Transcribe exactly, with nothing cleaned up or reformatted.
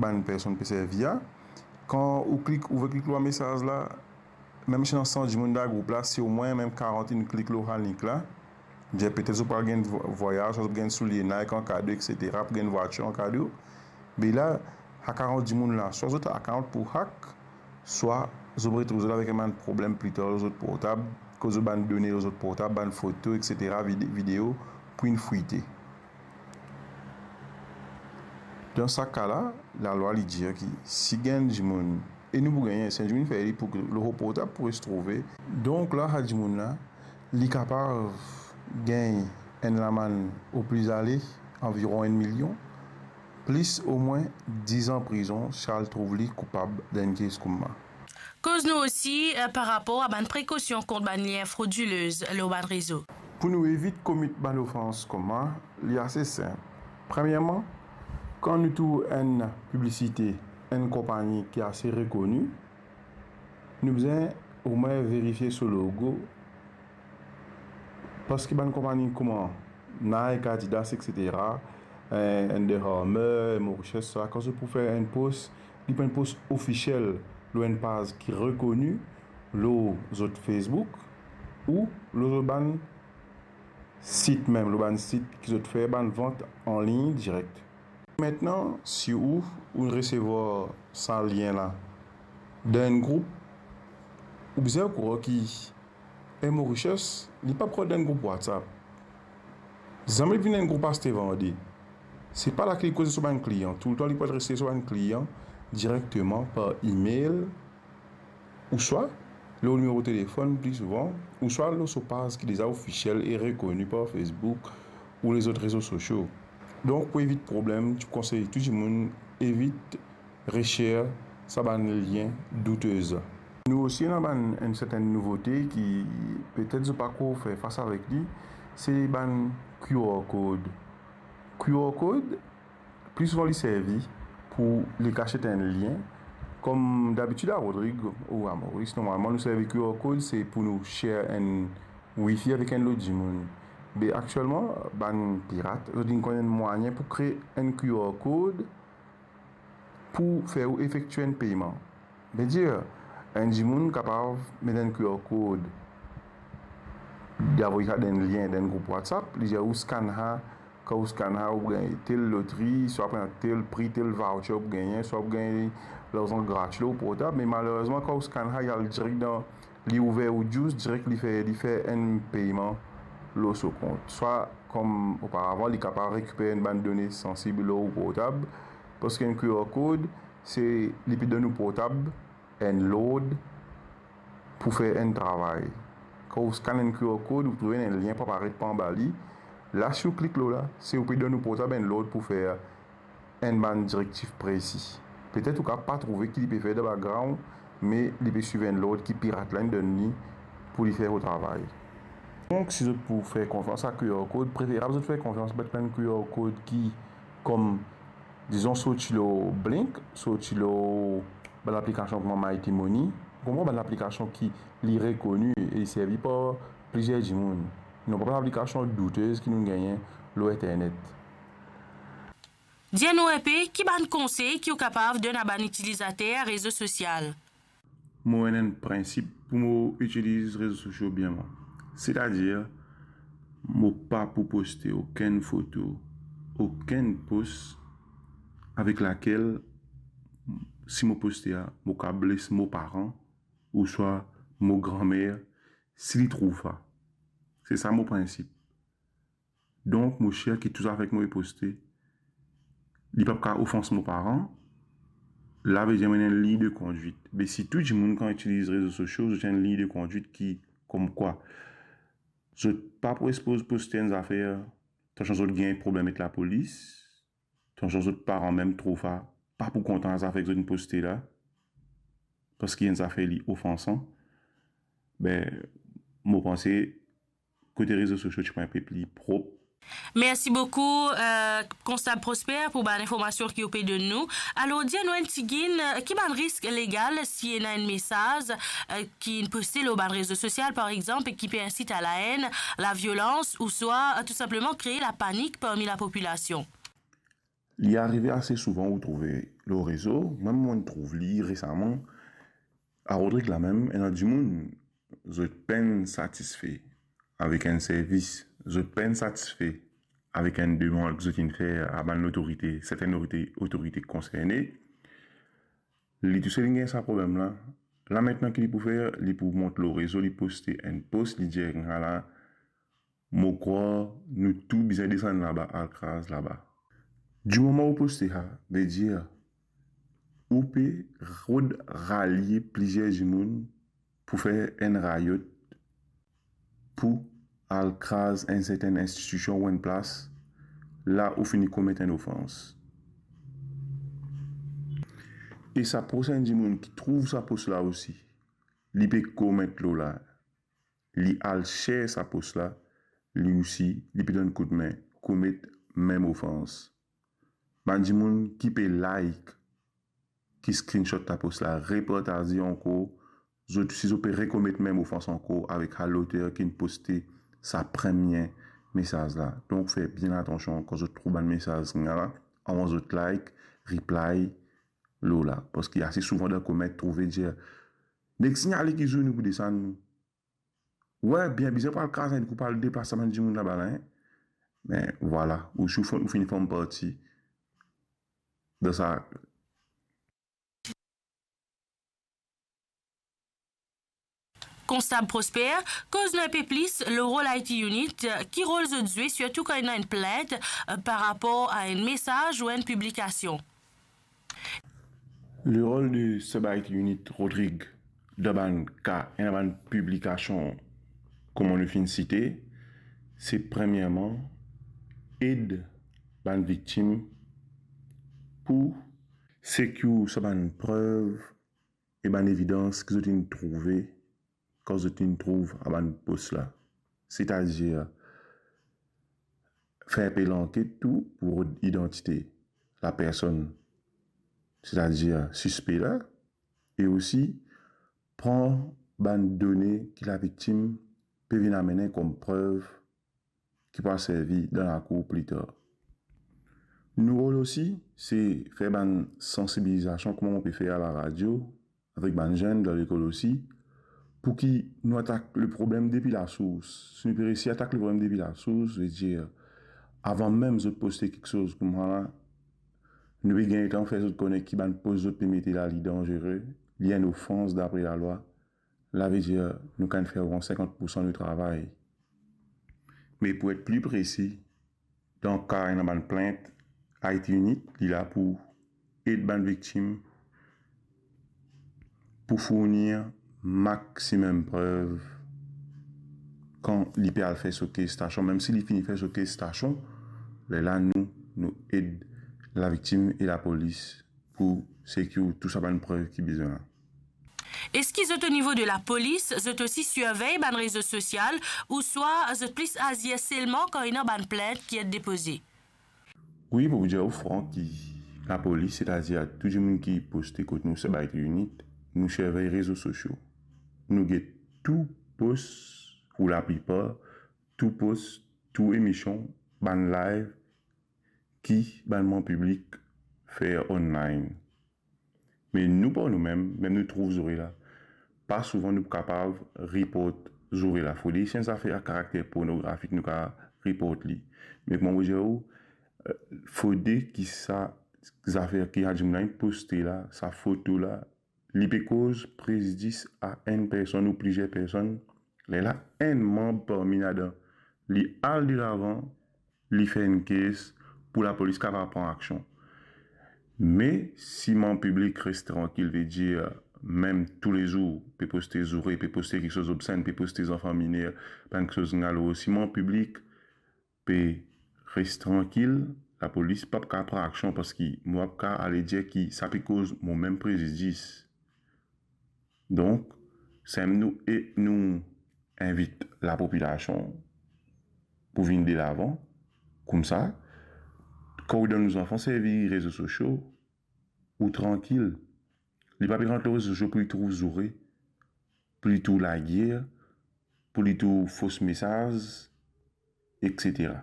bann personn pe servi a. Kan ou klik, ou klik lor mesaz la, mem si ena san dimoun dan group la, si omwin mem karant inn klik lor sa link la, dir petet zot pou al gagn vo-, vwayaz, swa zot pou gagn soulie Nike an kado, et cetera, pou gagn vwatir an kado. Be la, sa karant dimoun la, swa zot account pou hack, swa zot retrouv zot avek enn bann problem pli tar lor zot portab, koz zot bann done lor zot portab, bann foto, et cetera, vide-, video, pou inn fwite. Dan sa ka la, lalwa li dir ki si gagn dimoun, e nou pou gagne, si enn dimoun fer li pou lor portab pou res trouve. Donk la, sa dimoun la, li kapav gagn enn lamann opli ale anviron enn milion, plis omwin diz an prizon si al trouv li koupab dan enn kes kouma. Koz nou osi, eh, par rapor a bann prekosion kont bann lien frodilez lor bann rezo. Pou nou evit komit bann ofans kouma, li ase sinp. Premierman, kan nou trouv enn piblisite enn konpagni ki ase rekoni, nou bizin omwin verifie so logo, parski bann konpagni kouma Nike, Adidas, et cetera, eh, Under Armour, Mauritius, sa, kan zot pou fer enn post, li pou enn post ofisiel lor enn paz ki rekoni lor zot Facebook ou lor zot bann sit mem, lor bann sit ki zot fer bann vant anlign direk. Mintnan, si ou, ou resevwar sa lien la dan enn group, ou bizin okouran ki enn Mauritius, li pa pou rant dan enn group WhatsApp. Zame li vinn enn group aste vande. Se pa la ki li koze so bann klian. Toultan li pou adres so bann klian direkteman par email, ouswa lor nimero telefonn pli souvan, ouswa lor so paz ki deza ofisiel e rekoni par Facebook ou lezot rezo sosio. Donk, pou evit problem, ti konsey tou dimoun evit reshare sa bann lien doutez. Nou osi ena bann, enn sertenn nouvote ki petet zot pa ankor fer fas avek li, se bann Q R code. Q R code, pli souvan li servi pou li kas enn lien. Kom dabitid a Rodrig ou a Moris, normalman nou servi Q R code, se pou nou share enn wifi avek enn lot dimoun. Be aktielman, bann pirat, zot inn konn enn mwayin pou kree enn Q R code pou fer ou efektie enn peyman. Vedir, enn dimoun kapav met enn Q R code, li avoy sa dan enn lien, dan enn group WhatsApp, li dir ou scann sa, kan ou scann sa, ou gagn tel lotri, swa pou gagn tel pri, tel voucher ou pou gagne, swa ou pou gagn larzan gratis lor portab, me malerezman, kan ou scann sa, li al direk dan, li ouver ou juice, direk li fer, li fer enn peyman lor so kont. Swa, kom oparavan, li kapav rekiper enn bann done sansib lor ou portab, parski enn Q R code, se, li pe donn ou portab enn lord pou fer enn travay. Kan ou scann enn Q R code, ou trouve enn lien pou aparet par anba li. La, si ou klik lor la, se ou pe donn ou portab enn lord pou fer enn bann direktif presi. Petet ou kapav pa trouve ki li pe fer dan background, me li pe swiv enn lord ki pirat la inn donn li pou li fer so travay. Donk, si zot pou fer konfians a Q R code, preferab zot fer konfians bann Q R code ki, kom, dizon, sorti lor Blink, sorti lor bann aplikasion kouma Mighty Money, ou konpran, bann aplikasion ki li rekoni e li servi par plizier dimoun. Non pa bann aplikasion doutez ki nou gagn lor internet. Dir nou enpe ki bann konsey ki ou kapav donn a bann itilizater rezo sosial. Mo ena enn prinsip pou mo itiliz rezo sosio bien mwa. Setadir, mo pa pou poste okenn foto, okenn post avek lakel, si mo poste a, mo kapav bles mo paran ouswa mo granmer, si li trouv sa. Se sa mo prinsip. Donk, mo sir ki tou zafek mo pe poste, li pa pou kapav ofans mo paran, la vedir mo ena enn lign de kondwit. Be si tou dimoun kan itiliz rezo sosio, zot ena enn lign de kondwit ki, komkwa, zot pa pou sipoz poste enn zafer, tansion zot gagn problem ek lapolis, tansion zot paran mem trouv sa, pa pou kontan zafer ki zot inn poste la, parski enn zafer li ofansan, be, mo panse, kote rezo sosio ti pou enpe pli prop. Mersi boukou, eh, Konstab Prosper, pou bann informasion ki ou pe donn nou. Alor, dir nou enn tigit, eh, ki bann risk legal si ena enn mesaz, eh, ki inn poste lor bann rezo sosial, par exanp, ki pe insit a laenn, laviolans, ouswa, eh, tou sinpleman kree lapanik parmi lapopilasion? Li arive ase souvan ou trouve lor rezo, mem mo'nn trouv li resaman, a Rodrig lamem, ena dimoun, zot pa'nn satisfe avek enn servis, zot pa'nn satisfe avek enn demann ki zot inn fer a bann lotorite, sertenn otorite, otorite konserne, li tousel inn gagn sa problem la. La aster ki li pou fer, li pou mont lor rezo, li poste enn post, li dir, "Ala, mo krwar nou tou bizin desann laba, al kraz laba." Dimoman ou poste sa, vedir ou pe rod ralie plizier dimoun pou fer enn rayot, pou al kraz enn sertenn institision ou enn plas, la ou fini komet enn ofans. E sa prosin dimoun ki trouv sa post la osi, li pe koment lor la, li al share sa post la, li osi, li pe donn koudme, komet mem ofans. Bann dimoun ki pe like, ki screenshot ta post la, repartaze ankor, zot, si zot pe rekomet mem ofans ankor avek sa loter ki'nn poste sa premie mesaz la. Donk, fer bien atansion kan zot trouv bann mesaz la, avan zot like, reply lor la. Parski ase souvan dan koment trouve dir, "Nek signale ki zour nou pou desann nou." Wi, bien bizin pou al kraz enn kou, pou al deplas sa bann dimoun laba la, hein. Me vwala, ou, ou finn, ou finn form parti dan sa. Konstab Prosper, koz nou enpe plis lor rol I T Unit, ki rol zot zwe, sirtou kan ena enn plint, eh, par rapor a enn mesaz ou enn piblikasion? Lerol de Sub I T Unit Rodrig dan bann ka, ena bann piblikasion, kouma nou finn site, se premierman ed bann viktim pou secure sa bann prev e bann evidans ki zot inn trouve kan zot inn trouv sa bann post la. Setadir, fer pe lanket tou pou rod idantite lapersonn, setadir sispe la, e osi pran bann done ki laviktim pe vinn amene kom prev ki pou servi dan lakour pli tar. Nou rol osi, se fer bann sansibilizasion, kouma nou pe fer a laradio, avek bann zenn dan lekol osi, pou ki nou atak le problem depi lasours. Si nou pe resi atak le problem depi lasours, vedir, avan mem zot poste kiksoz kouma la, nou pe gagn letan fer zot kone ki bann post zot pe mete la, li danzere, li enn ofans dapre lalwa. La vedir, nou kapav fer oran sinkant poursan nou travay. Me pou et pli presi, dan ka ena bann plint, I T Unit, li la pou ed bann viktim pou fourni maximum prev kan li pe al fer so kes stasion. Mem si li fini fer so kes stasion, lerla nou, nou ed laviktim e lapolis pou secure tou sa bann prev ki bizin la. Eski zot, o nivo de lapolis, zot osi sirvey bann rezo sosial, ouswa zot plis azir selman kan ena bann plint ki et depoze? Wi, pou dir ou fran, ki lapolis, setadir tou dimoun ki poste kot nou, Sub I T Unit, nou sirvey rezo sosio. Nou get tou post, ou laplipar tou post, tou emision, bann live ki bann manm piblik fer online. Me nou par noumem, mem nou trouv zoure la, pa souvan nou kapav report zoure la. Fode si enn zafer a karakter pornografik nou kapav report li. Me kouma mo dir ou, eh, fode ki sa zafer ki sa dimoun la inn poste la, sa foto la, li pe koz prezidis a enn personn ou plizier personn, lerla enn manm parmi ladan, li al delavan, li fer enn kes pou lapolis kapav pran aksion. Me si manm piblik res trankil, vedir mem toulezour pe poste zoure, pe poste kiksoz obsenn, pe poste zanfan miner, bann kiksoz nalo, si manm piblik pe res trankil, lapolis pa pou kapav pran aksion, parski mo pa pou kapav ale dir ki sa pe koz momem prezidis. Donk, samem nou, e nou invit lapopilasion pou vinn delavan, koumsa, kan ou dan nou zanfan servi rezo sosio, ou trankil. Li pa pe rant lor rezo sosio pou li trouv zoure, pou li trouv lager, pou li trouv fos mesaz, etsetera.